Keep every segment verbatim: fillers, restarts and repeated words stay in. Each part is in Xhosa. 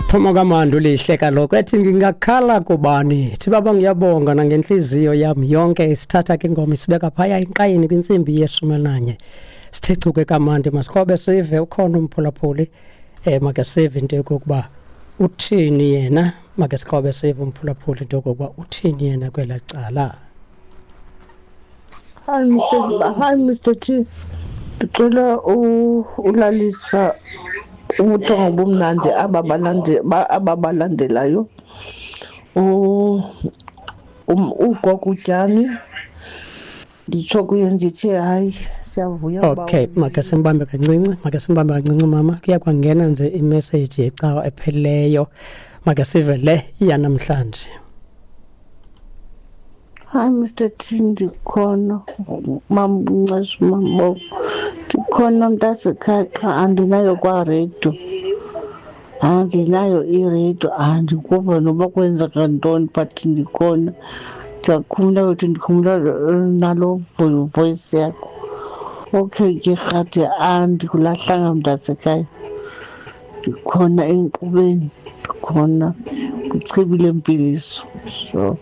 Phuma kamandi ulihle kaloku ethi ngingakhala kubani thi baba ngiyabonga nangentliziyo yam yonke. Isithatha ke ingoma isibeka phaya enqayini kwintsimbi yeshumi nanye. Sithe chuke kamandi, masikrobe sive ukhona umphulaphuli. um make sive into yokokuba uthini yena, make sikrobe sive umphulaphuli into yokokuba uthini yena kwelaa cala. Hi Mister Hi Mister T. Ndicela ulalisa ubuthongo bumnandi aba balande aba balandelayo. U um ugogo uTyani. Nditsho kuye ndithi hayi, siyavuya. Okay, make simbambe kancinci, make simbambe kancinci mama. Kuya kwangena nje imessage yecawa ephelileyo. Make sive le yanamhlanje. Hi Mister T, ndikhona. Mamncesh mambo. Ndikhona mntasekhaya, qha andinayo kwaredio. Andinayo iredio, andikuva noba kwenzeka ntoni, but ndikhona. Ndiyakhumbula ukuthi ndikhumbula nalo voice yakho. Okay ke rhadi, andikulahlanga mntasekhaya. Ndikhona enkqubeni, ndikhona kwichibi lempiliso. So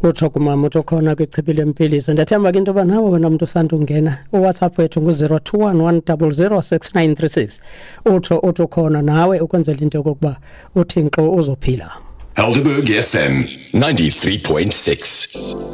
utsho kumama uthi ukhona kwichibi lempiliso. Ndiyathemba ke into yoba nawe wena mntu usandungena, uWhatsApp wethu ngu-zero two one one double zero six nine three six. Utsho uthi ukhona nawe ukwenzela into yokokuba uthi nkqo uzophila. Helderberg F M ninety-three point six.